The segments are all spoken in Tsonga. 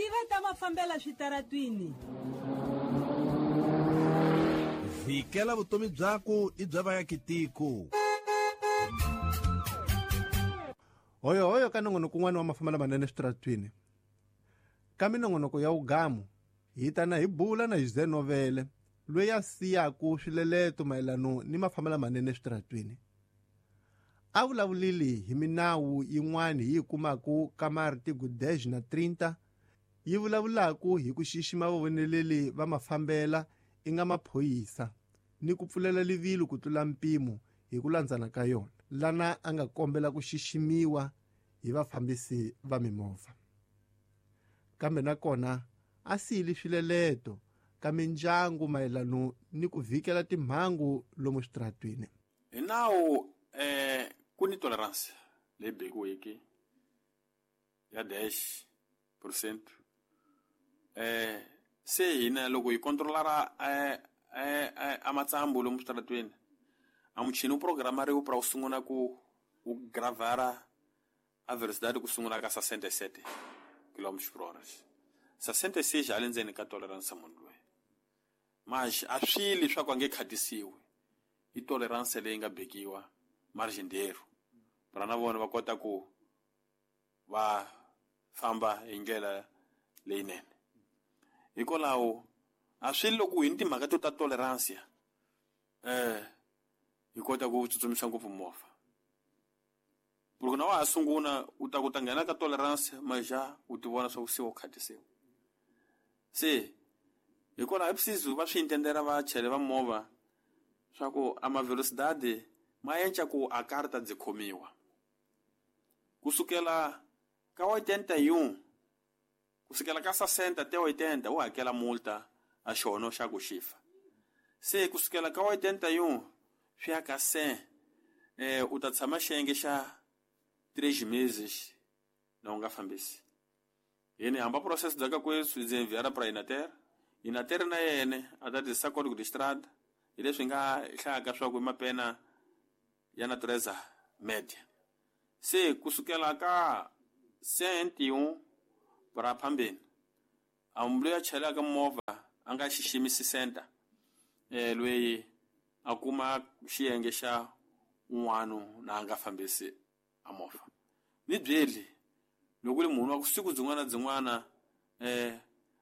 Tiva ta mafambela switaratwini. Vhikela vutomi byaku i bya vaakitiko. Hoyohoyo ka nongonoko wun'wana wa mafambelo lamanene eswitaratwini. Ka minongonoko ya wugamu hi ta na hi bula na José Novele loyi a siyaku swileleto mayelano ni mafambelo lamanene eswitaratwini. A vulavulile hi minawu yin'wana hi yi kumaku ka martigo 10 na 30 yi vulavulaku hi ku xixima vavoneleli va mafambela i nga maphorisa ni ku pfulela livilo ku tlula mpimo hi ku landzana ka yona lana a nga kombela ku xiximiwa hi vafambisi va mimovha. Kambe nakona a siyile swileleto ka mindyangu mayelano ni ku vhikela timhangu lomu switaratwini. Hi nawu ku ni tolerance leyi bekiweke ya dash percent. Se hina loko hi controlara a matsambu lomu switaratweni a muchini wu programariwe pra wu sungula ku wu gravara a velocidade ku sungula ka 67 kilometers per hora. 66 a le ndzeni ka tolerance munhu loyi. Mas a swi leswaku a nge khatisiwi. I tolerance leyi nga bekiwa margin d'error. Pra na vona va kota ku va famba hi ndlela leyinene. Hikwalaho a swi loko hi ni timhaka to ta tolerance hi kota ku tsutsumisa ngopfu movha. Loko na wa ha sungula u ta ku ta nghena ka tolerance maja u ti vona swa ku se u khatisiwa. Se hikwalaho preciso va swi intendera vachayeri va movha swa ku a ma velocidade ma enca ku a karta byi khomiwa. Kusukela ka 81 kusukela ka 60 te 80 u hakela multa a xono xa ku xifa. Se kusukela ka 81 swi ya ka 100 u ta tshama xiyenge xa 3 meses na u nga fambisi. Yini hamba process bya ka kweswi ndzi enviara pra Inater. Inater na yene a ta tirhisa código de estrada hi leswi nga hlayaka swa ku i mapena ya natureza media. Se kusukela ka 101 pra phambeni a munhu loyi a chelaka movha a nga xiximisi center loyi a kuma xiyenge xa un'wana na a nga fambisi a movha. Ni byeli loko ri munhu wa ku siku byin'wana na byin'wana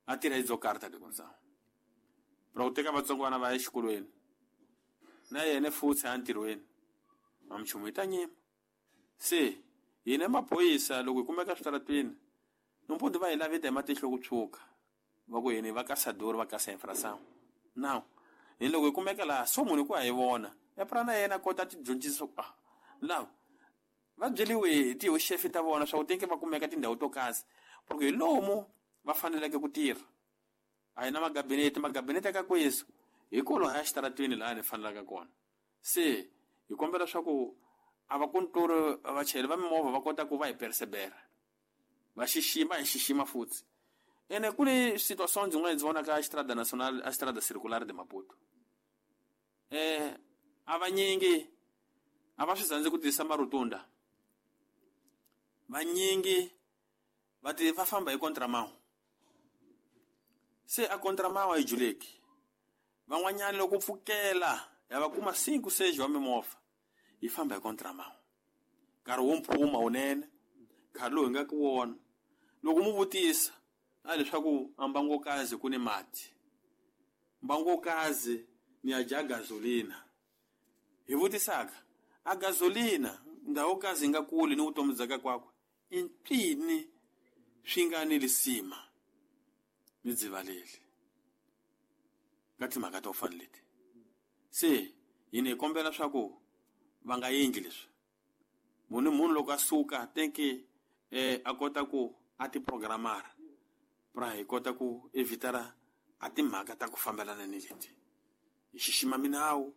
a tirha hi byo karta de condição. Pra ku teka vatsongwana va ya exikolweni na yena futhi a ntirhweni a minchumu yi ta nyima. Se hina maphorisa loko hi kumeka switaratwini nompondo va hi laveta hi matihlo ku tshuka va ku hina va ka sador va ka sa infração. Now hi loko hi kumeka laha so munhu ku a hi vona e pra na yena kota ti dyondzisa ku now va byeliwe hi tihoxefe ta vona swa ku tinke va kumeka tindhawu to kasi porque hi lomu va faneleke ku tirha. A hi na magabinete, magabinete ka kwesu hi kolo haya xitaratwini laha ni fanelaka kona. Se hi kombela swa ku a va control vachayeri va mimovha va kota ku va hi persevera va xixima hi xixima futhi. Ene ku ni situation byin'wana ndzi vonaka a Estrada Nacional, a Estrada Circular de Maputo. A vanyingi a va swi tsandzi ku tirhisa marutunda. Vanyingi va ti va famba hi contramão. Se a contramão a yi juleki. Van'wanyana loko pfukela ya va kuma 5 6 wa mimovha yi famba hi contramão. Nkarhi wo mphuma wunene, nkarhi lowu hi nga ku wona. Loko mu vutisa a leswaku a mbangokazi ku ni mati. Mbangokazi ni ya dya gasolina. Hi vutisaka a gasolina ndhawu kazi yi nga kuli ni vutomi bya ka kwakwe i mpfini swi nga ni lisima ni dzivaleli ka timhaka to fana leti. Se hina hi kombela swa ku va nga endli leswi. Munhu munhu loko a suka tenke a kota ku a ti programara pra hi kota ku evitara a timhaka ta ku fambelana ni leti. Hi xixima minawu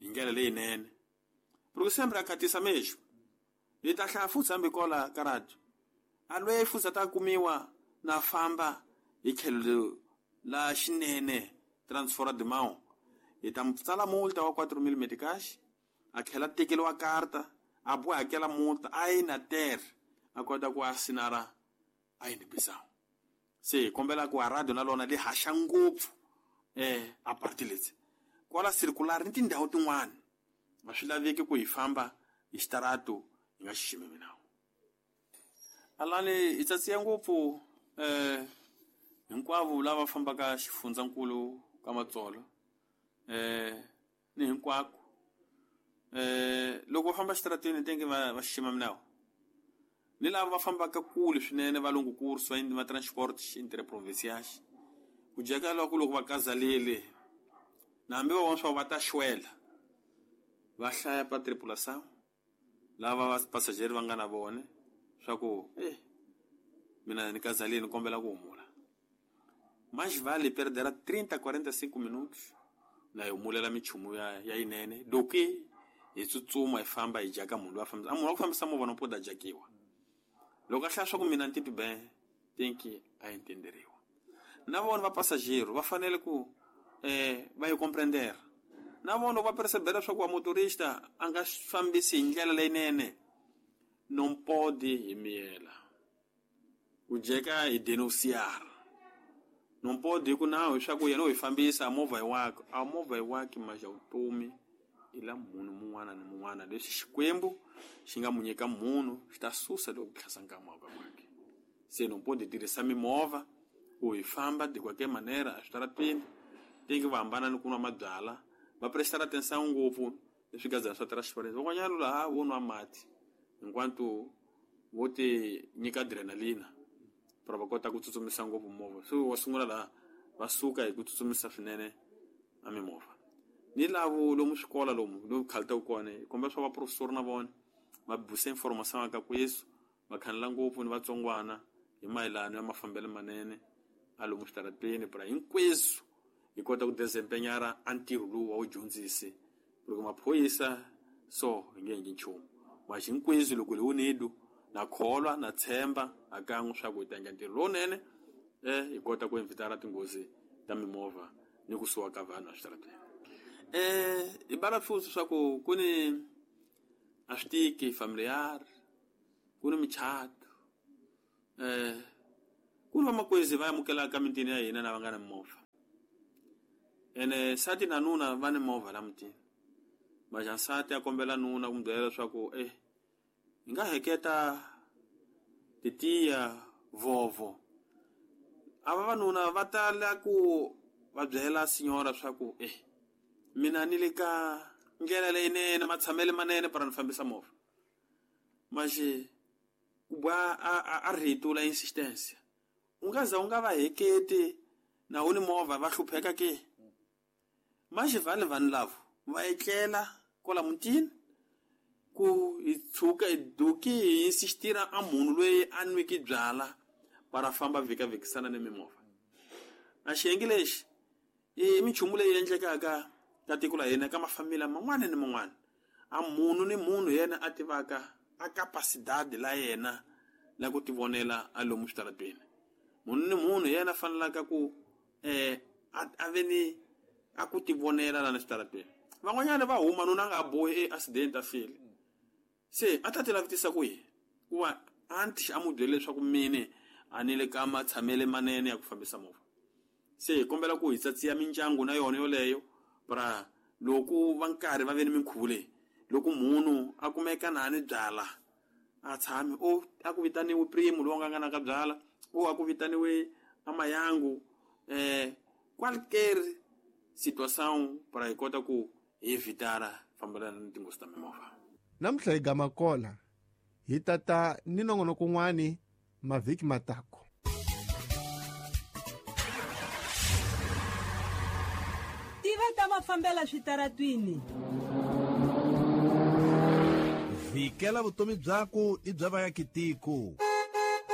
hi ndlela leyinene. Porque sempre a khatisa mexo. Hi ta hlaya futhi hambi kola ka radio. A loyi futhi a ta kumiwa na famba hi tlhelo la xinene transfora de mão. Hi ta tsala multa wa 4,000 meticais, a tlhela tekeriwa karta, a boha hakela multa a yi na terre, a kota ku asinara a yi ni Bissau. Se hi kombela ku a radio na lona li haxa ngopfu a parti leti kwala circular ni tindhawu tin'wana a swi laveki ku hi famba hi xitarato hi nga xiximi minawu. Alani hi tsatsiya ngopfu hinkwavo lava fambaka xifundzankulu ka Matsolo ni hinkwako loko va famba xitarateni tenge va xixima minawu ni lava va fambaka kule swinene va longo curso va transport interprovincial ku jeka loko loko va kazalele na hambi va vona swa va ta xwela va hlaya pa tripulação lava va passageiro va nga na vona swa ku mina ni kazalele ni kombela ku humula. Mais vale perderá 30, 45 minutos na hi humulela minchumu ya yinene do que hi tsutsuma hi famba hi jaka munhu loyi a fambisa a munhu wa ku fambisa movha no poda jakiwa loko a hlaya swa ku mina ni titwi ben tenki a entenderiwa. Na vona va passageiro va fanele ku va yi comprendera na vona va percebera swa ku wa motorista a nga fambisi hi ndlela leyinene non pode hi miyela ku jeka hi denunciar non pode hi ku nawu leswaku yena u hi fambisa movha hi wakwe a movha hi wakwe maxa vutomi i la munhu mun'wana ni mun'wana leswi Xikwembu xi nga mu nyika munhu xi ta susa loko ku tlhasa nkama wa kwakhe. Se non pode tirhisa mimovha ku hi famba de qualquer manera eswitarateni tenge va hambana ni ku nwa mabyala va prestara atenção ngopfu leswi gazana swa transparent van'wanyana laha vo nwa mati hinkwanto vo ti nyika adrenalina para va kota ku tsutsumisa ngopfu movha so wa sungula laha va suka hi ku tsutsumisa swinene a mimovha ni lavo lomu swikola lomu lomu khalita kona hi kombela swa vaprofesori na vona va busa informação ka ku Yesu va khanela ngopfu ni vatsongwana hi mayelana ya mafambelo manene a lomu switarateni para hinkweswo hi kota ku desempenhar a ntirho lowu wa wu dyondzisi loko maphorisa so hi nge endli nchumu mas hinkweswo loko hi unido na kholwa na tshemba a kan'we swa ku hi ta endla ntirho lowunene hi kota ku evitara tinghozi ta mimovha ni ku suwa ka vanhu eswitarateni. Hi bala futhi swa ku ku ni a swi tiki familiar ku ni michato ku ni vamakwezi va amukelaka mitini ya hina na va nga na mimovha ene nsati na nuna va ni movha la mutini maxa nsati a kombela nuna ku mu byela leswaku hi nga heketa titiya vovo a vavanuna va tala ku va byela sinyora swa ku mina ni le ka ndlela leyinene matshamele manene para ni fambisa movha maxe ku bwa a rito la insistência u nga za u nga va heketi na u ni movha va hlupheka ke maxe vale vanhu lavo va etlela kwala mutini ku hi tshuka hi duki hi insistira a munhu loyi a nwiki byala para famba vhikavhikisana ni mimovha a xiyenge lexi i minchumu leyi endlekaka ka tiko la hina ka mafamila man'wana ni man'wana a munhu ni munhu yena a tivaka a capacidade la yena la ku tivonela a lomu switarateni munhu ni munhu yena a fanelaka ku a ve ni a ku tivonela lana switarateni van'wanyana va huma nuna a nga bohi accident a file se a ta ti lavitisa ku yi ku va anti a mu byele leswaku mine a ni le ka matshamele manene ya ku fambisa movha se hi kombela ku hi tsatsiya mindyangu na yona yoleyo para loko va nkarhi va ve ni minkhuvo leyi loko munhu a kumeka na ni byala a tshami o a ku vitaniwe primo lowu nga nga na ka byala o a ku vitaniwe amayangu qualquer situação para hi kota ku hi evitara fambelana ni tinghozi ta mimovha. Namuntlha hi gama kola hi tata ni nongonoko kun'wani mavhiki matako. Tiva ta mafambela switaratwini. Vhikela vutomi byaku i bya vayakitiko.